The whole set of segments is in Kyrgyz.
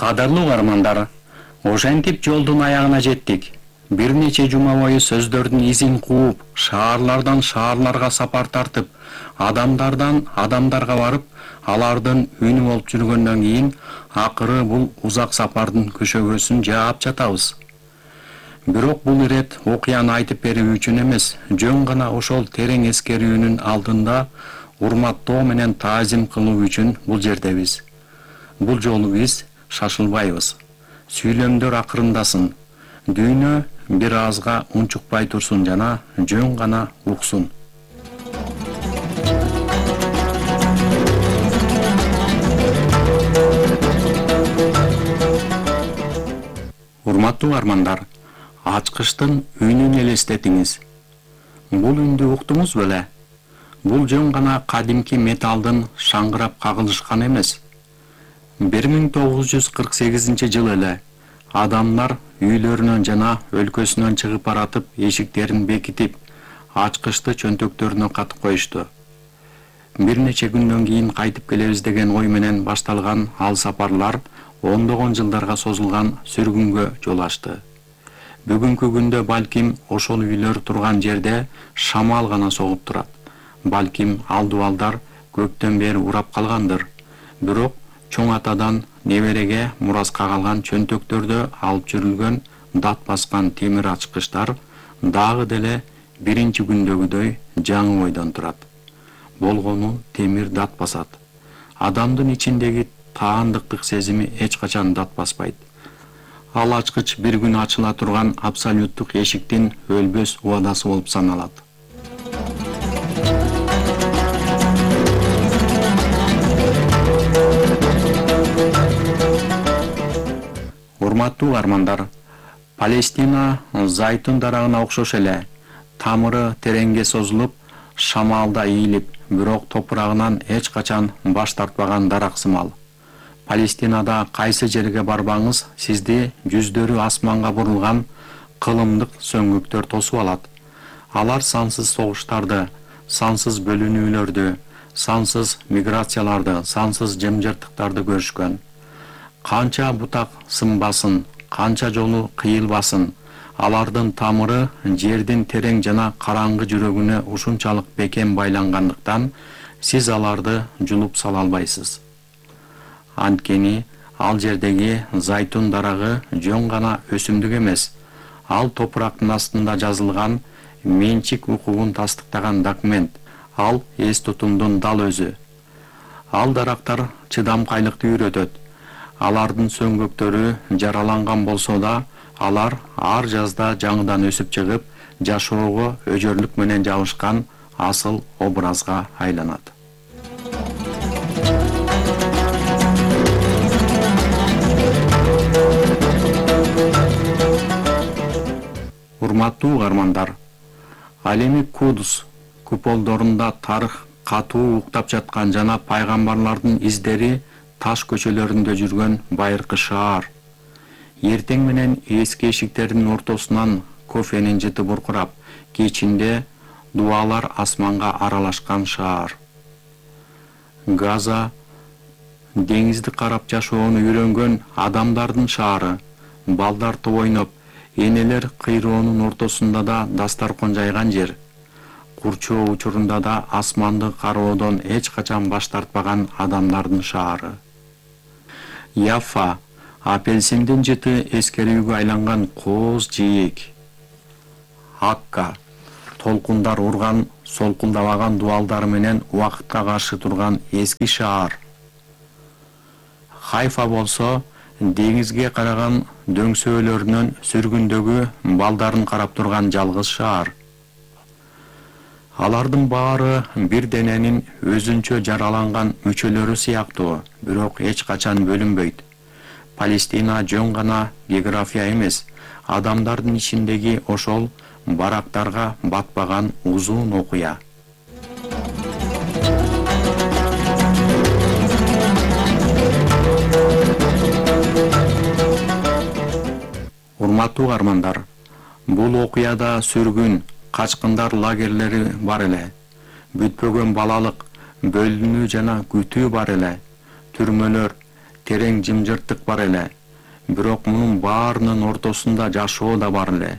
Кадырлуу угармандар, ошентип жолдун аягына жеттик. Бир нече жума бою сөздөрдүн изин кууп, шаарлардан шаарларга сапар тартып, адамдардан адамдарга барып, алардын үнү болуп жүргөндөн кийин, акыры бул узак сапардын көшөгөсүн жаап жатабыз. Бирок бул ирет окуяны айтып берүү үчүн эмес, жөн гана ошол терең эскерүүнүн алдында урматтоо менен таазим кылуу үчүн бул жердебиз. Бул жолу биз шашылбайбыз. Сүйлөмдөр акырындасын. Дүйнө бир азга унчукпай турсун жана жөн гана уксун. Урматтуу армандар, ачкычтын үнүн элестетиңиз. Бул үндү уктуңуз беле? Бул жөн гана кадимки металдын шаңгырап кагылышканы эмес. 1948-жылы эле адамдар үйлөрүнөн жана өлкөсүнөн чыгып баратып, эшиктерин бекитип, ачкычты чөнтөктөрүнө катып коюшту. Бир нече күндөн кийин кайтып келебиз деген ой менен башталган ал сапарлар ондогон жылдарга созулган сүргүнгө жол ачты. Бүгүнкү күндө балким ошол үйлөр турган жерде шамал гана согуп турат. Балким ал дубалдар көптөн бери урап калгандыр. Бирок чоң атадан небереге мураска калган чөнтөктөрдө алып жүрүлгөн дат баскан темир ачкычтар дагы деле биринчи күндөгүдөй жаңы бойдон турат. Болгону темир дат басат. Адамдын ичиндеги таандыктык сезими эч качан дат баспайт. Ал ачкыч бир күн ачыла турган абсолюттук эшиктин өлбөс убадасы болуп саналат. Урматтуу армандар, Палестина зайтун дарагына окшош эле, тамыры тереңге созулуп, шамалда ийилип, бирок топурагынан эч качан баш тартпаган дарак сымал. Палестинада кайсы жерге барбаңыз, сизди жүздөрү асманга бурулган кылымдык сөңгүктөр тосуп алат. Алар сансыз согуштарды, сансыз бөлүнүүлөрдү, сансыз миграцияларды, сансыз жымжырттыктарды көрүшкөн. Канча бутак сынбасын, канча жолу кыйылбасын, алардын тамыры жердин терең жана караңгы жүрөгүнө ушунчалык бекем байлангандыктан сиз аларды жулуп сала албайсыз. Анткени ал жердеги зайтун дарагы жөн гана өсүмдүк эмес, ал топурактын астында жазылган менчик укугун тастыктаган документ, ал эс тутумдун дал өзү. Ал дарактар чыдамкайлыкты үйрөтөт. Алардын сөңгөктөрү жараланган болсо да, алар ар жазда жаңыдан өсүп чыгып, жашоого өжөрлүк менен жабышкан асыл образга айланат. Урматтуу угармандар, ал эми Кудус куполдорунда тарых катуу уктап жаткан жана пайгамбарлардын издери таш көчөлөрүндө жүргөн байыркы шаар. Эртең менен эски эшиктердин ортосунан кофенин жыты буркурап, кечинде дубалар асманга аралашкан шаар. Газа деңизди карап жашоону үйрөнгөн адамдардын шаары. Балдар топ ойноп, энелер кыйроонун ортосунда да дастаркан жайган жер. Курчоо учурунда да асманды кароодон эч качан баш тартпаган адамдардын шаары. Яффа апельсиндин жыты эскерүүгө айланган кооз жээк. Акка толкундар урган, солкулдабаган дубалдары менен убакытка каршы турган эски шаар. Хайфа болсо деңизге караган дөңсөөлөрүнөн сүргүндөгү балдарын карап турган жалгыз шаар. Алардын баары бир дененин өзүнчө жараланган мүчөлөрү сыяктуу, бирок эч качан бөлүнбөйт. Палестина жөн гана география эмес, адамдардын ичиндеги ошол барактарга батпаган узун окуя. Урматтуу армандар, бул окуяда сүргүн, качкындар лагерлери бар эле. Бүтпөгөн балалык, бөлүнүү жана күтүү бар эле. Түрмөлөр, терең жымжырттык бар эле. Бирок мунун баарынын ортосунда жашоо да бар эле.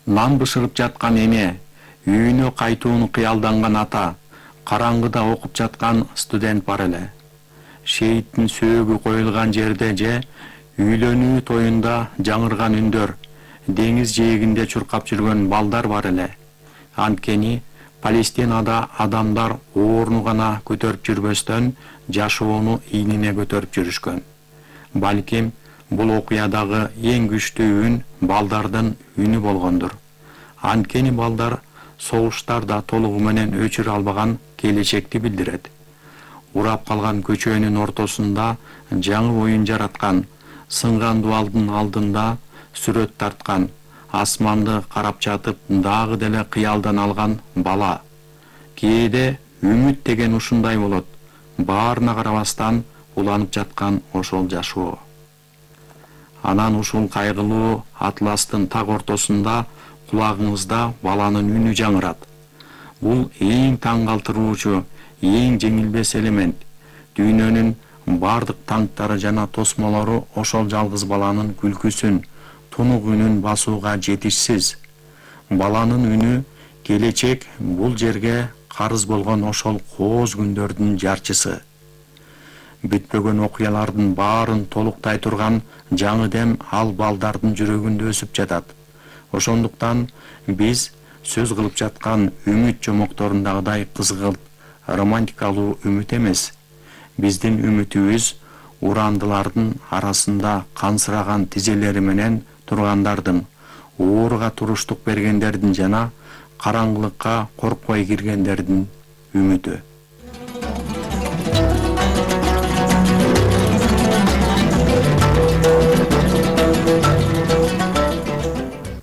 Нан бышырып жаткан эне, үйүнө кайтууну кыялданган ата, караңгыда окуп жаткан студент бар эле. Шейиттин сөөгү коюлган жерде же үйлөнүү тоюнда жаңырган үндөр, деңиз жээгинде чуркап жүргөн балдар бар эле. Анткени Палестинада адамдар оорну гана көтөрүп жүрбөстөн, жашоону ийнине көтөрүп жүрүшкөн. Балким бул окуядагы эң күчтүү үн балдардын үнү болгондур. Анткени балдар согуштарда толугу менен өчүрө албаган келечекти билдирет. Урап калган көчөнүн ортосунда жаңы оюн жараткан, сынган дубалдын алдында сүрөт тарткан, асманды карап жатып дагы деле кыялдан алган бала. Кээде үмүт деген ушундай болот. Баарына карабастан уланып жаткан ошол жашоо. Анан ушул кайгылуу атластын так ортосунда кулагыңызда баланын үнү жаңырат. Бул эң таң калтыруучу, эң жеңилбес элемент. Дүйнөнүн бардык таңктары жана тосмолору ошол жалгыз баланын күлкүсүн, тунук үнүн басууга жетишсиз. Баланын үнү келечек бул жерге карыз болгон ошол кооз күндөрдүн жарчысы. Бүтпөгөн окуялардын баарын толуктай турган жаңы дем ал балдардын жүрөгүндө өсүп жатат. Ошондуктан биз сөз кылып жаткан үмүт жомокторундагыдай кызгылт, романтикалуу үмүт эмес. Биздин үмүтүбүз урандылардын арасында кансыраган тизелери менен тургандардын, ооруга туруштук бергендердин жана караңгылыкка коркпой киргендердин үмүтү.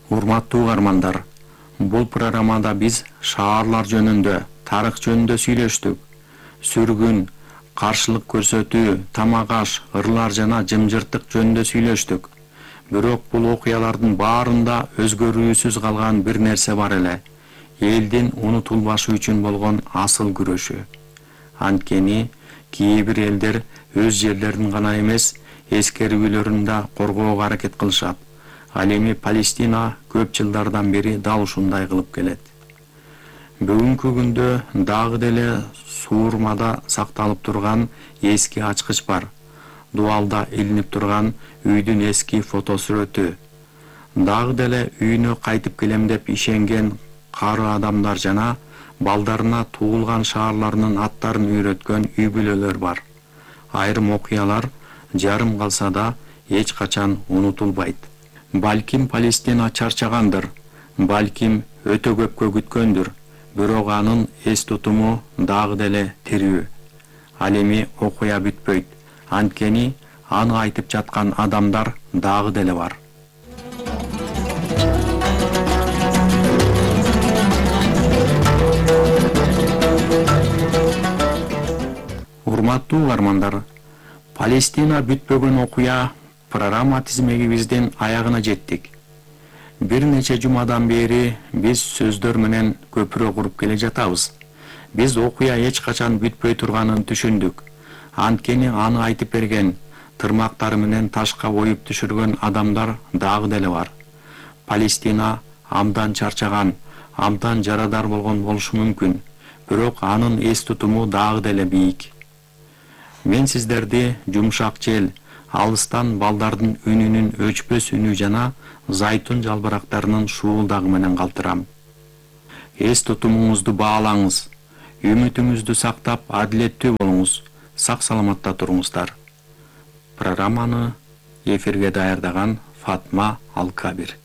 Урматтуу угармандар, бул программада биз шаарлар жөнүндө, тарых жөнүндө сүйлөштүк. Сүргүн, каршылык көрсөтүү, тамак-аш, ырлар жана жымжырттык жөнүндө сүйлөштүк. Бирок бул окуялардын баарында өзгөрүүсүз калган бир нерсе бар эле. Элдин унутулбашы үчүн болгон асыл күрөшү. Анткени кээ бир элдер өз жерлерин гана эмес, эскерүүлөрүн да коргоого аракет кылышат. Ал эми Палестина көп жылдардан бери дал ушундай кылып келет. Бүгүнкү күндө дагы деле суурмада сакталып турган эски ачкыч бар. Дубалда илинип турган үйдүн эски фотосүрөтү. Дагы деле үйүнө кайтып келем деп ишенген кары адамдар жана балдарына туулган шаарларынын аттарын үйрөткөн үй-бүлөлөр бар. Айрым окуялар жарым калса да эч качан унутулбайт. Балким Палестина чарчагандыр, балким өтө көпкө күткөндүр, бирок анын эс тутуму дагы деле тирүү. Ал эми окуя бүтпөйт, анткени аны айтып жаткан адамдар дагы деле бар. Урматтуу угармандар, Палестина бүтпөгөн окуя программа тизмегибиздин аягына жеттик. Бир нече жумадан бери биз сөздөр менен көпүрө куруп келе жатабыз. Биз окуя эч качан бүтпөй турганын түшүндүк. Анткени аны айтып берген, тырмактары менен ташка оюп түшүргөн адамдар дагы деле бар. Палестина абдан чарчаган, абдан жарадар болгон болушу мүмкүн, бирок анын эс тутуму дагы деле бийик. Мен сиздерди жумшак жел, алыстан балдардын үнүнүн өчпөс үнү жана зайтун жалбырактарынын шуулдагы менен калтырам. Эс тутумуңузду баалаңыз, үмүтүңүздү сактап, адилеттүү болуңуз, сак саламатта туруңуздар. Программаны эфирге даярдаган Фатма Алкабир.